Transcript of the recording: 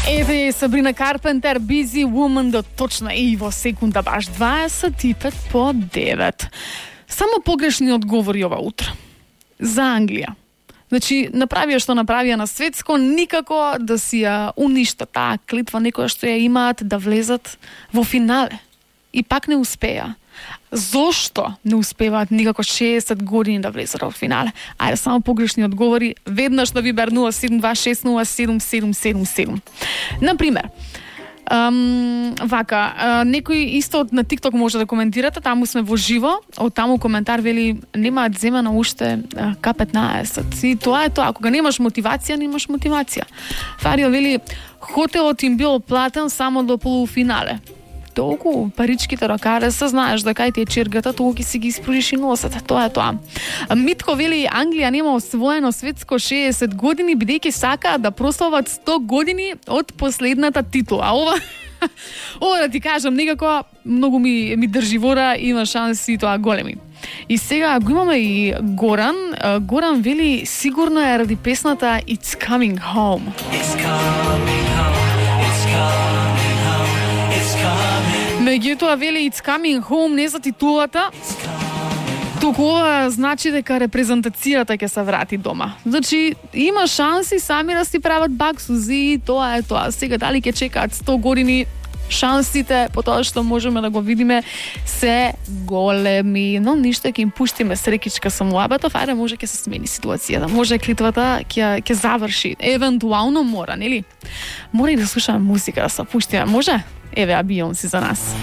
Еве Сабрина Карпентер, Busy Woman, до точно и во секунда баш 25 по 9. Само погрешни одговори ова утро. За Англија. Значи, направија што направија на светско, никако да си ја уништа таа клетва некоја што ја имаат да влезат во финале. И пак не успеа. Зошто не успеваат никако 60 години да влезат во финале? Ајде, само погрешни одговори. Веднаш на Вибер 0726077777. Например, некој исто на TikTok може да коментирате, таму сме во живо, од таму коментар вели немаат земено уште К15. И тоа е тоа, кога немаш мотивација, немаш мотивација. Фарио вели хотелот им бил платен само до полуфинале. Толку паричките рокаре се знаеш дека кај ти е чергата, толку ќе си ги испружиш и носете. Тоа е тоа. Митко вели Англија нема освоено светско 60 години, бидејќи сакаат да прослават 100 години од последната титула. Ова да ти кажам, некако многу ми држи вора, има шанси тоа големи. И сега го имаме и Горан. Горан вели сигурно е ради песната It's Coming Home. It's coming home. It's coming home. It's coming. Меѓутоа вели It's Coming Home не за титулата. Туку ова значи дека репрезентацијата ќе се врати дома. Значи, има шанси сами да си прават баксузи, тоа е тоа. Сега дали ќе чекаат 100 години, шансите по тоа што можеме да го видиме се големи, но ништо, ќе им пуштиме срекичка со муабетов, ајде може ќе се смени ситуацијата, може клитвата ќе заврши, евентуално мора, нели? Мора и да слушаме музика, да се пуштиме, може? Еве Бейонсе за нас.